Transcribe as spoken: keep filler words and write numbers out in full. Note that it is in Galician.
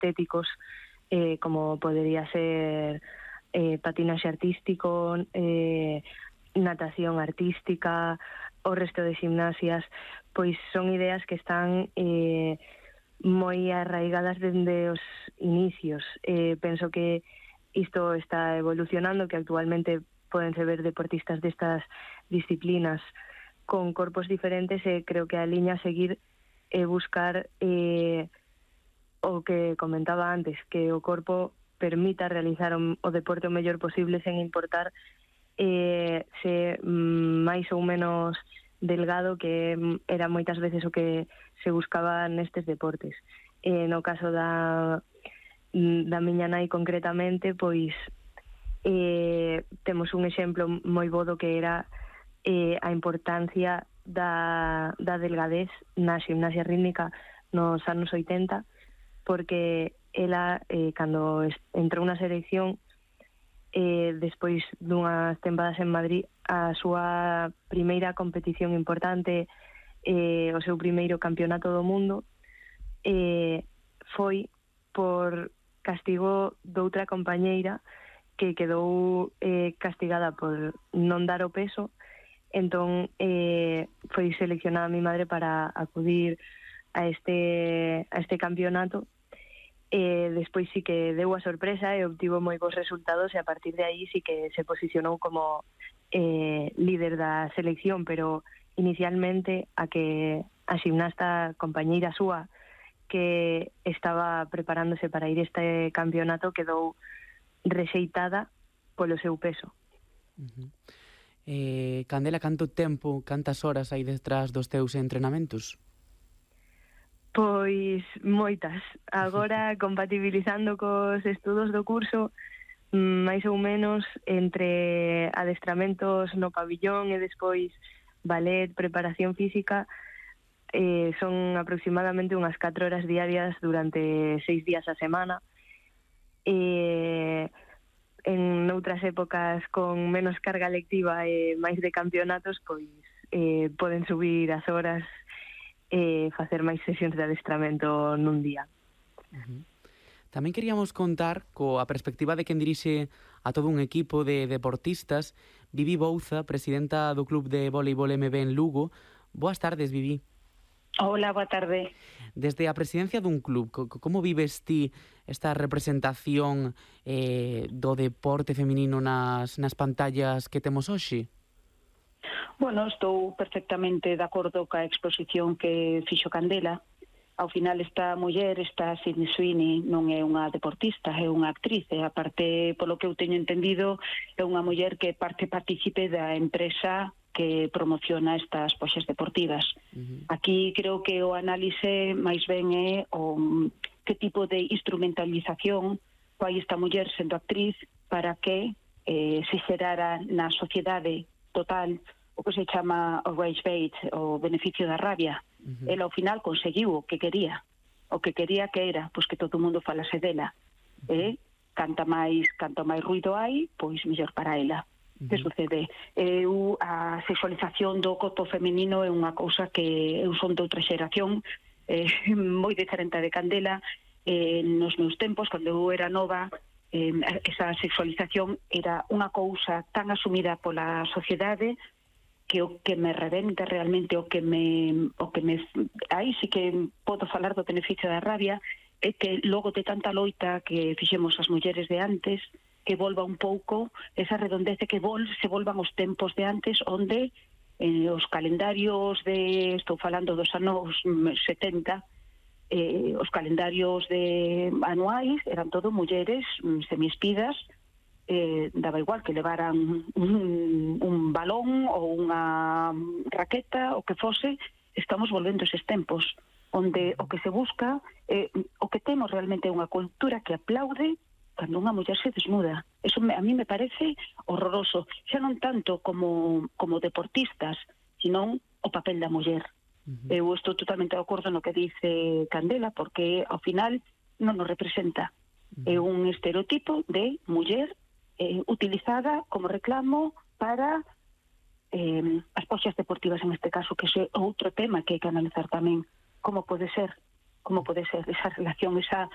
estéticos, eh, como podería ser eh, patinaxe artístico, eh, natación artística, o resto de gimnasias, pois son ideas que están eh, moi arraigadas dende os inicios. Eh, penso que isto está evolucionando, que actualmente podense ver deportistas destas disciplinas con corpos diferentes, e creo que a liña a seguir é buscar eh, o que comentaba antes, que o corpo permita realizar o, o deporte o mellor posible sen importar eh, se mm, máis ou menos delgado, que era moitas veces o que se buscaba nestes deportes. Eh, no caso da, da miña nai concretamente, pois eh, temos un exemplo moi bo do que era eh, a importancia da, da delgadez na gimnasia rítmica nos anos oitenta, porque ela, eh, cando entrou na selección, eh, despois dunhas tempadas en Madrid, a súa primeira competición importante, eh, o seu primeiro campeonato do mundo, eh, foi por castigo doutra compañeira que quedou eh, castigada por non dar o peso. Entón eh, foi seleccionada mi madre para acudir a este, a este campeonato. Eh, despois sí que deu a sorpresa e obtivo moi bons resultados, e a partir de aí sí que se posicionou como eh, líder da selección, pero inicialmente a que a ximnasta compañeira súa que estaba preparándose para ir a este campeonato quedou rexeitada polo seu peso. Uh-huh. eh, Candela, canto tempo, cantas horas hai detrás dos teus entrenamentos? Pois moitas. Agora, compatibilizando cos estudos do curso, máis ou menos entre adestramentos no pabillón e despois ballet, preparación física, eh, son aproximadamente unhas catro horas diarias durante seis días a semana. E en outras épocas con menos carga lectiva e máis de campeonatos, pois eh, poden subir as horas e facer máis sesións de adestramento nun día. Uh-huh. Tamén queríamos contar coa perspectiva de quen dirixe a todo un equipo de deportistas, Vivi Bouza, presidenta do Club de Voleibol M B en Lugo. Boas tardes, Vivi. Hola, boa tarde. Desde a presidencia dun club, como vives ti esta representación eh, do deporte feminino nas, nas pantallas que temos hoxe? Bueno, estou perfectamente de acordo ca exposición que fixo Candela. Ao final esta muller, esta Sydney Sweeney, non é unha deportista, é unha actriz, e aparte, polo que eu teño entendido, é unha muller que parte partícipe da empresa que promociona estas poxas deportivas. Uh-huh. Aquí creo que o análise máis ben é o que tipo de instrumentalización fai esta muller sendo actriz para que eh, se xerara na sociedade total o que se chama o rage bait, o beneficio da rabia. Uh-huh. Ela ao final conseguiu o que quería. O que quería que era, pois que todo o mundo falase dela. Uh-huh. E canta máis, canto máis ruido hai, pois mellor para ela. Uh-huh. Que sucede? Eu, a sexualización do corpo femenino é unha cousa que eu son de outra xeración, eh, moi diferente de Candela. Eh, nos meus tempos, cando eu era nova, eh, esa sexualización era unha cousa tan asumida pola sociedade que o que me reventa realmente, o que me o que me aí sí que podo falar do beneficio da rabia, é que logo de tanta loita que fixemos as mulleres de antes, que volva un pouco esa redondez, que vol, se volvan os tempos de antes, onde eh, os calendarios de, estou falando dos anos setenta, eh, os calendarios de anuais eran todo mulleres semiespidas. Eh, daba igual que levaran un, un balón ou unha raqueta, o que fose. Estamos volvendo eses tempos onde o que se busca, eh, o que temos realmente é unha cultura que aplaude cando unha muller se desnuda. Eso me, a mí me parece horroroso, xa non tanto como, como deportistas, sino o papel da muller. Uh-huh. Eu estou totalmente de acordo no que dice Candela, porque ao final non nos representa. Uh-huh. É un estereotipo de muller Eh, utilizada como reclamo para eh, as poxas deportivas, en este caso, que é outro tema que hai que analizar tamén. Como pode ser, como pode ser esa relación, esa